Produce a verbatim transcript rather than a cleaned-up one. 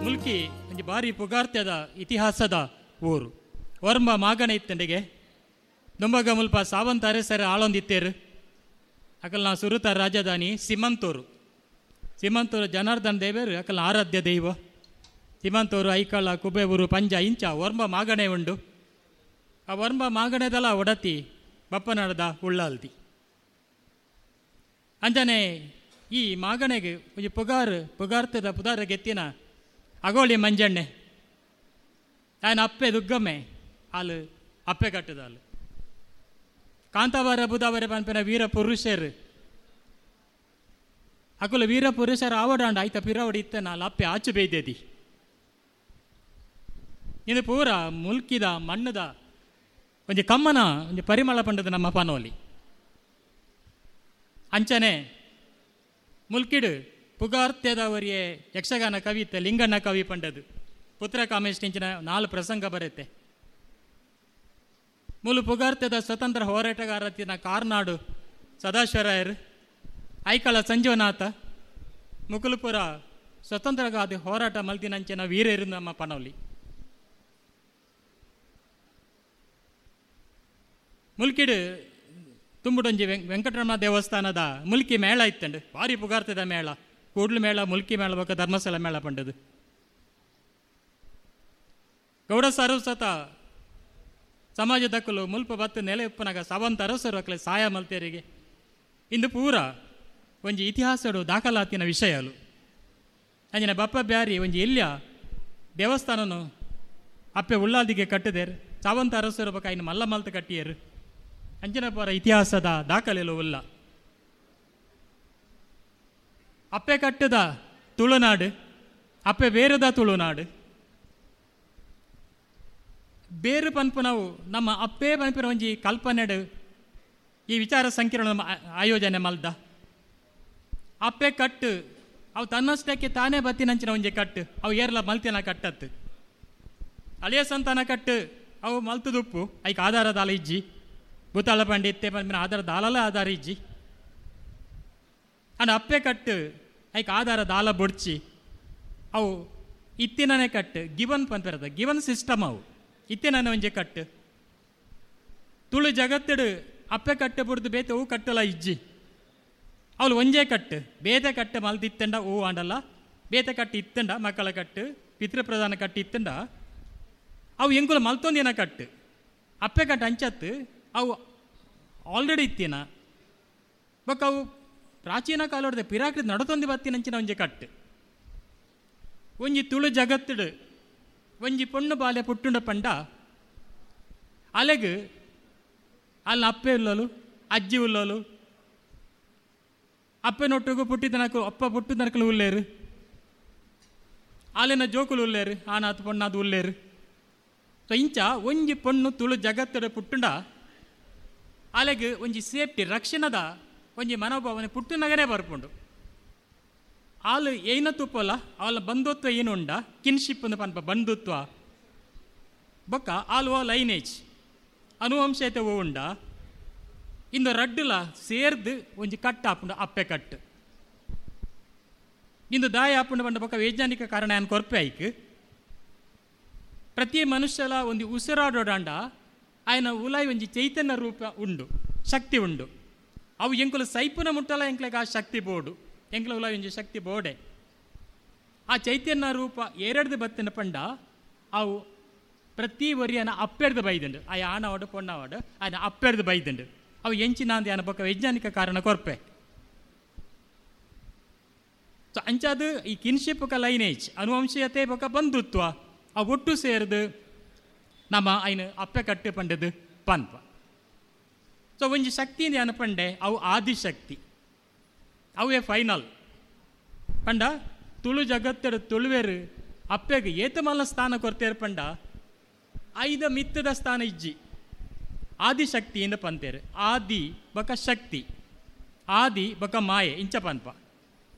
ಮುಲ್ಕಿ ಒಂಜಿ ಬಾರಿ ಪುಗಾರ್ತೆದ ಇತಿಹಾಸದ ಊರು. ಒರ್ಂಬ ಮಾಗಣೆ ಇತ್ತಂಡಿಗೆ ದುಂಬಗ ಮುಲ್ಪ ಸಾವಂತ ಅರಸರ ಆಳೊಂದಿತ್ತೇರು. ಅಕಲ್ನ ಸುರುತ ರಾಜಧಾನಿ ಸಿಮಂತೂರು. ಸಿಮಂತೂರು ಜನಾರ್ದನ್ ದೇವರು ಅಕಲ್ನ ಆರಾಧ್ಯ ದೈವ. ಸಿಮಂತೂರು, ಐಕಳ, ಕುಬೇವೂರು, ಪಂಜ ಇಂಚ ಒರ್ಂಬ ಮಾಗಣೆ ಉಂಡು. ಆ ಒರ್ಂಬ ಮಾಗಣೆದಲ ಒಡತಿ ಬಪ್ಪನಾಡದ ಉಳ್ಳಾಲ್ದಿ. ಅಂಜನೆ ಈ ಮಾಗಣೆಗೆ ಒಂಜಿ ಪುಗಾರ್ ಪುಗಾರ್ತದ ಪುದಾರ ಗೆತ್ತಿನ ಅಗೋಳಿ ಮಂಜಣ್ಣೆ ಆಯನ ಅಪ್ಪೆ ದುಗ್ಗಮ್ಮೆ ಆಲು ಅಪ್ಪೆ ಕಟ್ಟದಾಲು. ಕಾಂತಾಬಾರ ಬುಧಾವರೆ ಪನ್ಪಿನ ವೀರ ಪುರುಷರು ಅಕುಲ ವೀರ ಪುರುಷರ ಆವಡಾಂಡ ಆಯ್ತ ಪಿರವಡಿ ಇತ್ತ ನಾಲ್ ಅಪ್ಪೆ ಆಚು ಬೇಯ್ದೇದಿ. ಇದು ಪೂರ ಮುಲ್ಕಿದ ಮಣ್ಣದ ಒಂಜಿ ಕಮ್ಮನ ಒಂಜಿ ಪರಿಮಳ ಪಂಡದ ನಮ್ಮ ಪನೋಲಿ. ಅಂಚನೆ ಮುಲ್ಕಿಡು ಪುಗಾರ್ತೆದವರಿಯೇ ಯಕ್ಷಗಾನ ಕವಿತೆ ಲಿಂಗಣ್ಣ ಕವಿ ಪಂಡದು ಪುತ್ರ ಕಾಮೇಶ್ ಇಂಚಿನ ನಾಲು ಪ್ರಸಂಗ ಬರುತ್ತೆ. ಮೂಲು ಪುಗಾರ್ತೆದ ಸ್ವತಂತ್ರ ಹೋರಾಟಗಾರತಿನ ಕಾರ್ನಾಡು ಸದಾಶಿವರಾಯರು, ಐಕಳ ಸಂಜೀವನಾಥ, ಮುಕುಲಪುರ ಸ್ವತಂತ್ರಗಾದಿ ಹೋರಾಟ ಮಲ್ತಿನಂಚಿನ ವೀರರು ನಮ್ಮ ಪನೋಲಿ. ಮುಲ್ಕಿಡು ತುಂಬುಡೊಂಜಿ ವೆಂಕಟರಮಣ ದೇವಸ್ಥಾನದ ಮುಲ್ಕಿ ಮೇಳ ಇತ್ತಂಡು, ಭಾರಿ ಪುಗಾರ್ತದ ಮೇಳ, ಕೂಡ್ಲು ಮೇಳ, ಮುಲ್ಕಿ ಮೇಳ ಬೊಕ್ಕ ಧರ್ಮಸ್ಥಳ ಮೇಳ ಪಂಡದು. ಗೌಡ ಸಾರಸ್ವತ ಸಮಾಜದಕ್ಕಲು ಮುಲ್ಪ ಬತ್ತು ನೆಲೆ ಉಪ್ಪನಾಗ ಸಾವಂತ ಅರಸರು ಅಕ್ಲೆ ಸಾಯ ಮಲ್ತೇರಿಗೆ. ಇಂದು ಪೂರ ಒಂಜಿ ಇತಿಹಾಸಡು ದಾಖಲಾತಿನ ವಿಷಯಲು. ಅಂಜಿನ ಬಪ್ಪ ಬ್ಯಾರಿ ಒಂಜಿ ಎಲ್ಯ ದೇವಸ್ಥಾನನು ಅಪ್ಪೆ ಉಳ್ಳಾದಿಗೆ ಕಟ್ಟದೇರು, ಸಾವಂತ ಅರಸರು ಬೊಕ್ಕ ಇನ್ನು ಮಲ್ಲ ಮಲ್ತ ಕಟ್ಟಿಯರು. ಅಂಚಿನ ಪೂರ ಇತಿಹಾಸದ ದಾಖಲೆಲು ಉಲ್ಲ. ಅಪ್ಪೆ ಕಟ್ಟದ ತುಳುನಾಡು, ಅಪ್ಪೆ ಬೇರದ ತುಳುನಾಡು. ಬೇರು ಪನ್ಪು ನಾವು ನಮ್ಮ ಅಪ್ಪೇ ಪನ್ಪಿನ ಒಂಜಿ ಕಲ್ಪನೆಡು ಈ ವಿಚಾರ ಸಂಕಿರಣ ಆಯೋಜನೆ ಮಲ್ದ. ಅಪ್ಪೆ ಕಟ್ಟು ಅವು ತನ್ನಷ್ಟಕ್ಕೆ ತಾನೇ ಬತ್ತಿನಂಚಿನ ಒಂಜಿ ಕಟ್ಟು, ಅವು ಏರ್ಲ ಮಲ್ತಿನ ಕಟ್ಟತ್ತು. ಅಳಿಯ ಸಂತಾನ ಕಟ್ಟು ಅವು ಮಲ್ತದುಪ್ಪು, ಐಕ್ ಆಧಾರ ದಾಲ ಇಜ್ಜಿ, ಬುತ್ತಾಳ ಪಂಡಿ ಇತ್ತೆ ಪನ್ಪಿನ ಆಧಾರ ದಾಲಲ ಆಧಾರ ಇಜ್ಜಿ. ಅಂಡ್ ಅಪ್ಪೆ ಕಟ್ಟು ಐಕ್ ಆಧಾರ ದಾಲ ಬೊಡ್ಚಿ ಅವು ಇತ್ತಿನನೇ ಕಟ್ಟು, ಗಿವನ್ ಪನ್ಪಿರದ ಗಿವನ್ ಸಿಸ್ಟಮ್ ಅವು ಇತ್ತಿನ ಒಂಜಿ ಕಟ್ಟು. ತುಳು ಜಗತ್ತಿಡು ಅಪ್ಪೆ ಕಟ್ಟು ಬುಡ್ದು ಬೇತೆ ಹೂ ಕಟ್ಟಲ ಇಜ್ಜಿ, ಅವಳು ಒಂಜೇ ಕಟ್ಟು, ಬೇತೆ ಕಟ್ಟು ಮಲ್ದಿತ್ತಂಡ ಹೂ ಆಂಡಲ್ಲ, ಬೇತೆ ಕಟ್ಟು ಇತ್ತಂಡ ಮಕ್ಕಳ ಕಟ್ಟು, ಪಿತೃಪ್ರಧಾನ ಕಟ್ಟು ಇತ್ತಂಡ ಅವು ಎಂಕುಲ ಮಲ್ತೊಂದಿನ ಕಟ್ಟು. ಅಪ್ಪೆ ಕಟ್ಟು ಅಂಚತ್ತು ಅವು ಆಲ್ರೆಡಿ ಇತ್ತಿನ ಬೊಕ್ಕ ಅವು ಪ್ರಾಚೀನ ಕಾಲದ ಪಿರಾಕೃತಿ ನಡತೊಂದು ಬತ್ತಿನಂಚಿನ ಒಂಜಿ ಕಟ್ಟು. ಒಂಜಿ ತುಳು ಜಗತ್ತಿಡು ಒಂಜಿ ಪೊಣ್ಣು ಬಾಲೆ ಪುಟ್ಟುಂಡ ಪಂಡ ಅಲೆಗ್ ಅಲ್ಲಿ ಅಪ್ಪೆ ಉಲ್ಲಲು, ಅಜ್ಜಿ ಉಲ್ಲಲು, ಅಪ್ಪೆನೊಟ್ಟಿಗೂ ಪುಟ್ಟಿದನಕು ಅಪ್ಪ ಪುಟ್ಟಿದನಕಲು ಉಲ್ಲೇರು, ಅಲ್ಲಿನ ಜೋಕುಲು ಉಲ್ಲೇರು, ಆನಾತ್ ಪೊಣ್ಣಾದ್ ಉಲ್ಲೇರು. ಸೊ ಇಂಚ ಒಂಜಿ ಪೊಣ್ಣು ತುಳು ಜಗತ್ತಡ ಪುಟ್ಟುಂಡ ಅಲೆಗ್ ಒಂಜಿ ಸೇಫ್ಟಿ ರಕ್ಷಣದ ಒಂಜಿ ಮನೋಭಾವನೆ ಪುಟ್ಟುನಗನೇ ಬರ್ಪುಂಡು. ಆಲು ಏನ ತುಪ್ಪಲ್ಲ ಅವಳ ಬಂಧುತ್ವ ಏನು ಉಂಡ ಕಿನ್ಶಿಪ್ ಅಂದ್ ಪನ್ಪ ಬಂಧುತ್ವ ಬೊಕ್ಕ ಆಲು ಓ ಲೈನೇಜ್ ಅನುವಂಶತೆ ಓ ಉಂಡ. ಇಂದು ರಡ್ಡುಲ ಸೇರ್ದು ಒಂಜಿ ಕಟ್ಟು ಆಪುಂಡು ಅಪ್ಪೆ ಕಟ್ಟು. ಇಂದು ದಾಯ ಆಪುಂಡು ಪಂಡ ಬೊಕ್ಕ ವೈಜ್ಞಾನಿಕ ಕಾರಣ ಏನು ಕೊರ್ಪೆ ಐಕ್. ಪ್ರತಿ ಮನುಷ್ಯಲ ಒಂದು ಉಸಿರಾಡೋಡಾಂಡ ಆಯನ ಉಲಾಯಿ ಒಂಜಿ ಚೈತನ್ಯ ರೂಪ ಉಂಡು, ಶಕ್ತಿ ಉಂಡು. ಅವು ಎಂಕುಲು ಸೈಪುನ ಮುಟ್ಟಲ ಎಂಕ್ಲೆಗ್ ಆ ಶಕ್ತಿ ಬೋಡು, ಎಂಕ್ಲ ಉಲಾಯಿ ಒಂಜಿ ಶಕ್ತಿ ಬೋಡೆ. ಆ ಚೈತನ್ಯ ರೂಪ ಎರಡ್ದು ಬತ್ತಿನ ಪಂಡ ಅವು ಪ್ರತಿ ಒರಿಯನ ಅಪ್ಪೆಡ್ದು ಬೈದುಂಡು, ಆ ಆನವಾಡು ಪೊಣ್ಣವಾಡು ಆಯನ ಅಪ್ಪೆಡ್ದು ಬೈದುಂಡು. ಅವು ಎಂಚಿನಾಂದಿ ಆನ ಬೊಕ್ಕ ವೈಜ್ಞಾನಿಕ ಕಾರಣ ಕೊರ್ಪೆ. ಸೊ ಅಂಚಾದ ಈ ಕಿನ್ಶಿಪ್ ಬೊಕ್ಕ ಲೈನೇಜ್ ಅನುವಂಶೀಯತೆ ಬೊಕ್ಕ ಬಂಧುತ್ವ ಆ ಒಟ್ಟು ಸೇರ್ದು ನಮ್ಮ ಐನು ಅಪ್ಪೆ ಕಟ್ಟು ಪಂಡದು ಪನ್ಪ. ಸೊ ಒಂಜಿ ಶಕ್ತಿ ಅನ್ನ ಪಂಡೆ ಅವು ಆದಿಶಕ್ತಿ, ಅವೇ ಫೈನಲ್ ಪಂಡ. ತುಳು ಜಗತ್ತರ ತುಳುವೇರು ಅಪ್ಪೆಗೆ ಏತಮಲ್ಲ ಸ್ಥಾನ ಕೊರ್ತೇರು ಪಂಡ ಐದ ಮಿತ್ತದ ಸ್ಥಾನ ಇಜ್ಜಿ, ಆದಿಶಕ್ತಿಯಿಂದ ಪಂತೇರು. ಆದಿ ಬೊಕ್ಕ ಶಕ್ತಿ, ಆದಿ ಬೊಕ್ಕ ಮಾಯೆ ಇಂಚ ಪನ್ಪ.